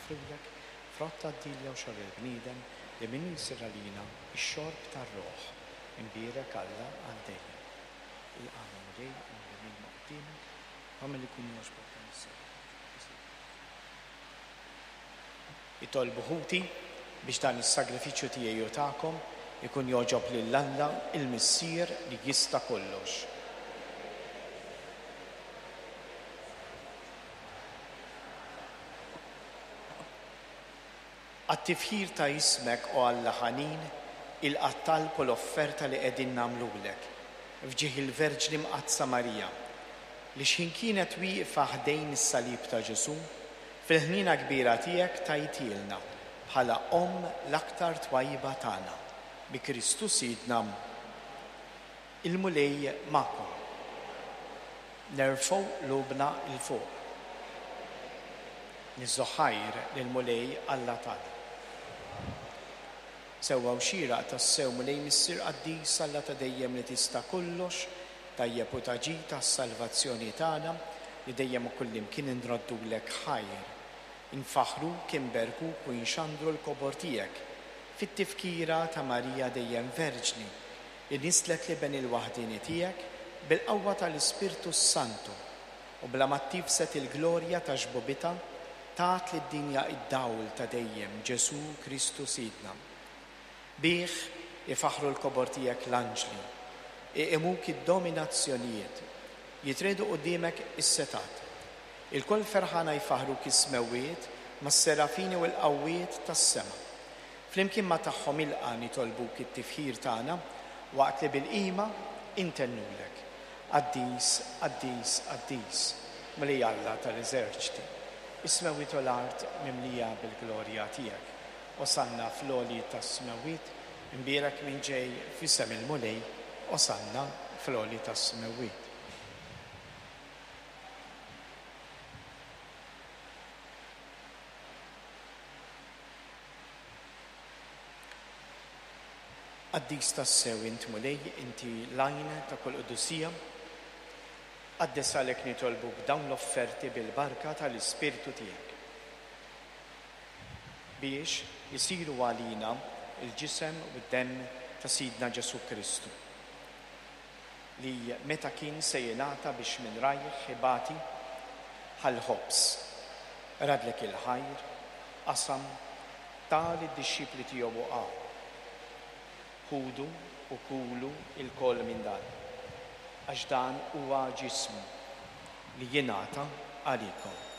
noffrulek, frott tad-dilja u xogħol il-bniedem, li minnu jsir għalina x-xorb tar-ruħ. Imbierek Alla għal dejjem. Ilqagħna Mulej u nrimilna quddiemek, u agħmel ikun jogħġbok dan is-sagrifiċċju. Itolbu ħuti biex dan is-sagrifiċċju tiegħi u tagħkom ikun jogħġob lil Alla il-Missier li jista' kollox. Għat-tifħir ta' ismek, o Alla ħanin, ilqa' t-talb u l-offerta li qegħdin nagħmlulek, f'ġieħ il-Verġni Mqaddsa Marija, li xħin kienet wieqfa ħdejn is-salib ta' Ġesù, fil-ħniena kbira tiegħek tajtielna bħala Omm l-aktar twajba tagħna. Bi Kristu Sidna. Il-Mulej magħkom. Nerfgħu qlubna 'l fuq. Niżżu ħajr lill-Mulej Alla tagħna. Sewwa u xieraq tassew, Mulej Missier qaddis, Alla ta' dejjem li tista' kollox, tajjeb u ta' ġid għas-salvazzjoni tagħna, li dejjem u kullimkien inroddulek ħajr. Infaħħruk, inberkuk u inxandru l-kobor tiegħek, fit-tifkira ta' Marija dejjem Verġni, li nisslet l-Iben il-waħdieni tiegħek bil-qawwa tal-Ispirtu s-Santu, u bla ma ttifsed il-glorja ta' xbubitha, tat lid-dinja id-dawl ta' dejjem, Ġesù Kristu Sidna. Bih ifaħħru l-kobor tiegħek l-anġli, iqimuk id-dominazzjonijiet, jitriegħdu quddiemek is-setgħat. Ilkoll ferħana jfaħħruk is-smewwiet mas-serafini u l-qawwiet tas-sema. Flimkien ma' tagħhom ilqa' nitolbuk it-tifħir tagħna waqt li bil-qima intennulek, Qaddis, qaddis, qaddis, Mulej Alla tal-eżerċti, is-smewwiet u l-art mimlija bil-glorja tiegħek. Osanna fl-għoli tas-smewwiet, imbierek min ġej f'isem il-Mulej, Osanna fl-għoli tas-smewwiet. Qaddis tassew int Mulej, inti l-għajn ta' kull qdusija. Qaddes għalhekk nitolbuk dawn l-offerti bil-barka tal-Ispirtu tiegħek. Biex isiru għalina l-ġisem u d-demm ta' Sidna Ġesù Kristu, li meta kien se jingħata biex minn rajh ibati, ħa l-ħobż, radlek il-ħajr, qasam, ta lid-dixxipli tiegħu u qal, Ħudu u kulu lkoll minn dan, għax dan huwa ġismi li jingħata għalikom.